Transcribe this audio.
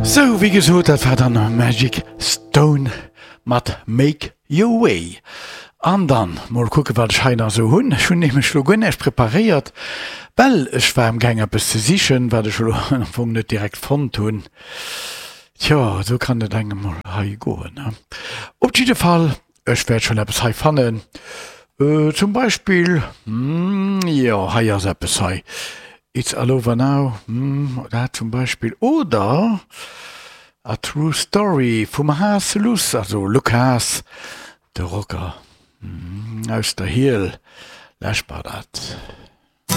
Sou, wéi gesot, dat war dann Magic Stone mat Make Your Way. An dann mol kucke wat ech hei nach sou hunn. Ech hunn nämlech lo guer näischt preparéiert, well ech war am gaang eppes ze sichen, wat ech elo am Fong net direkt fonnt hunn. Tjo, esou kann et engem mol hei goen, ne? Op jidde Fall, ech wäert schonn eppes hei fannen. Zum Beispill, jo, hei ass eppes hei, It's all over now, dat zum Beispill, oder A True Story vum Haas Luss, also Luc Haas, de Rocker aus der Hiel. Läschbar dat.